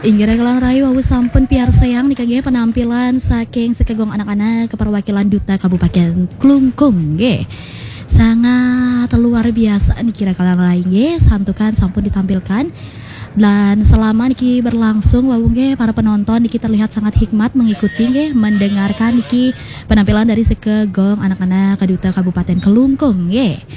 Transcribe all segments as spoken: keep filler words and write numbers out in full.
Inggih raka lan rahayu, wau sampun piarsayang nika nggih penampilan saking sekegong anak-anak perwakilan Duta Kabupaten Klungkung nggih. Sangat luar biasa niki raka lan rahayu nggih, santukan sampun ditampilkan. Dan selama niki berlangsung wau nggih, para penonton niki terlihat sangat hikmat mengikuti nggih, mendengarkan niki penampilan dari sekegong anak-anak Duta Kabupaten Klungkung nggih.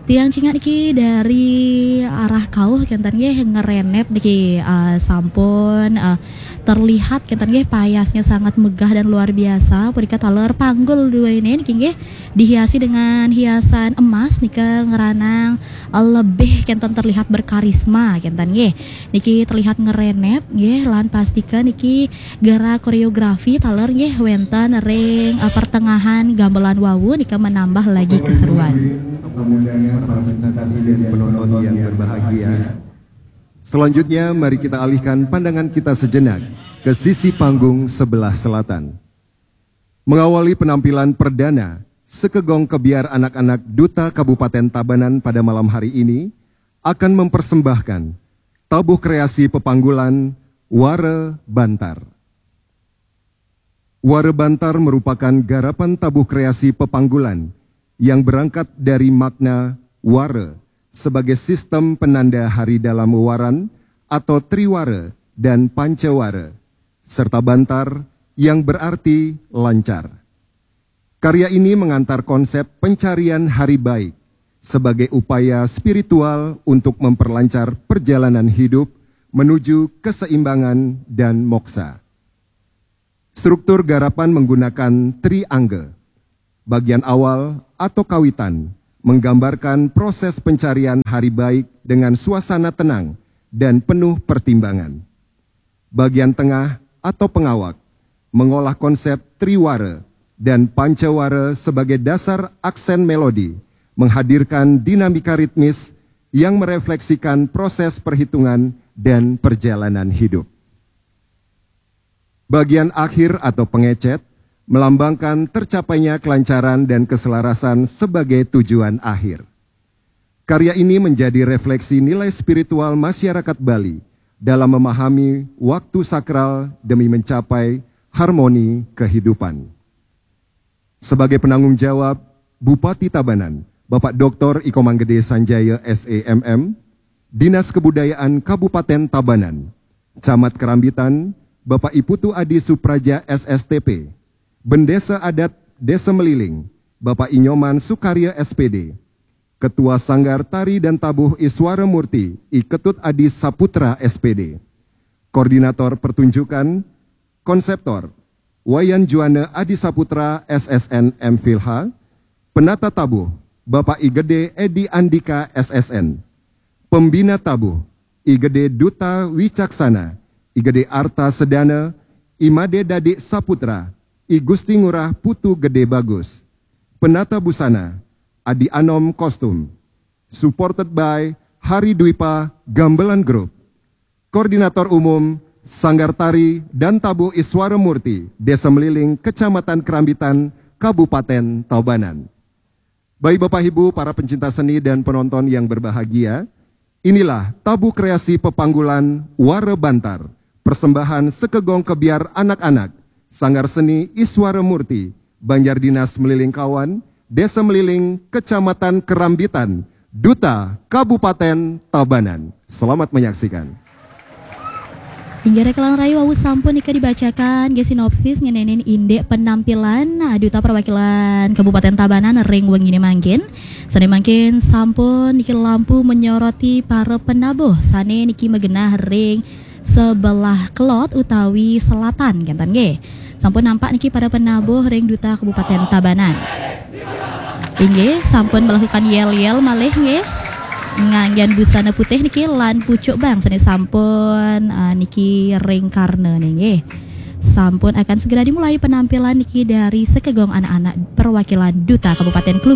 Tiang cingat niki dari arah kauh kenten nggih, ngerenep niki, eh, sampun, eh, terlihat kenten nggih, payasnya sangat megah dan luar biasa. Punika taler panggul duene niki nggih dihiasi dengan hiasan emas nika ngeranang, eh, lebih kenten terlihat berkarisma kenten nggih. Niki terlihat ngerenep nggih, lan pastika niki gerak koreografi taler nggih wenten ring, eh, pertengahan gamelan wau nika menambah lagi keseruan. Penonton yang berbahagia. Selanjutnya, mari kita alihkan pandangan kita sejenak ke sisi panggung sebelah selatan. Mengawali penampilan perdana, sekegong kebiar anak-anak Duta Kabupaten Tabanan pada malam hari ini akan mempersembahkan tabuh kreasi pepanggulan Wara Bantar. Wara Bantar merupakan garapan tabuh kreasi pepanggulan yang berangkat dari makna wara sebagai sistem penanda hari dalam wewaran atau triwara dan pancawara, serta bantar yang berarti lancar. Karya ini mengantar konsep pencarian hari baik sebagai upaya spiritual untuk memperlancar perjalanan hidup menuju keseimbangan dan moksa. Struktur garapan menggunakan triangga. Bagian awal atau kawitan menggambarkan proses pencarian hari baik dengan suasana tenang dan penuh pertimbangan. Bagian tengah atau pengawak mengolah konsep triwara dan pancawara sebagai dasar aksen melodi, menghadirkan dinamika ritmis yang merefleksikan proses perhitungan dan perjalanan hidup. Bagian akhir atau pengecet melambangkan tercapainya kelancaran dan keselarasan sebagai tujuan akhir. Karya ini menjadi refleksi nilai spiritual masyarakat Bali dalam memahami waktu sakral demi mencapai harmoni kehidupan. Sebagai penanggung jawab, Bupati Tabanan, Bapak Doktor Iko Manggede Sanjaya, S E M M, Dinas Kebudayaan Kabupaten Tabanan, Camat Kerambitan, Bapak Iputu Adi Supraja, S S T P, Bendesa Adat Desa Meliling, Bapak Inyoman Sukarya, S P D, Ketua Sanggar Tari dan Tabuh Iswara Murti, I Ketut Adi Saputra, S P D, Koordinator Pertunjukan, Konseptor, Wayan Juana Adi Saputra, S S N, M Phil H, Penata Tabuh, Bapak I Gede Edi Andika, S S N, Pembina Tabuh, I Gede Duta Wicaksana, I Gede Arta Sedana, I Made Dadi Saputra, I Gusti Ngurah Putu Gede Bagus, Penata Busana, Adi Anom Kostum. Supported by Hari Dwipa Gamelan Group. Koordinator Umum, Sanggar Tari dan Tabuh Iswara Murti, Desa Meliling, Kecamatan Kerambitan, Kabupaten Tabanan. Baik Bapak Ibu, para pencinta seni dan penonton yang berbahagia, inilah tabuh kreasi pepanggulan Wara Bantar, persembahan sekegong kebiar anak-anak, Sanggar Seni Iswara Murti, Banjar Dinas Meliling Kawan, Desa Meliling, Kecamatan Kerambitan, Duta Kabupaten Tabanan. Selamat menyaksikan. Inggih raka lan rahayu, wau sampun nika dibacakan nggih sinopsis ngenenin indik penampilan, nah, Duta Perwakilan Kabupaten Tabanan ring wengine mangkin. Sane mangkin sampun niki lampu menyoroti para penabuh sane niki magenah ring sebelah kelod utawi selatan kenten nggih. Sampun nampak niki para penabuh ring Duta Kabupaten Tabanan. Inggih, sampun melakukan yel-yel malih nggih. Nganggen busana putih niki lan pucuk bang sane sampun, ah, niki ring karna nggih. Sampun akan segera dimulai penampilan niki dari sekegong anak-anak perwakilan Duta Kabupaten Klungkung.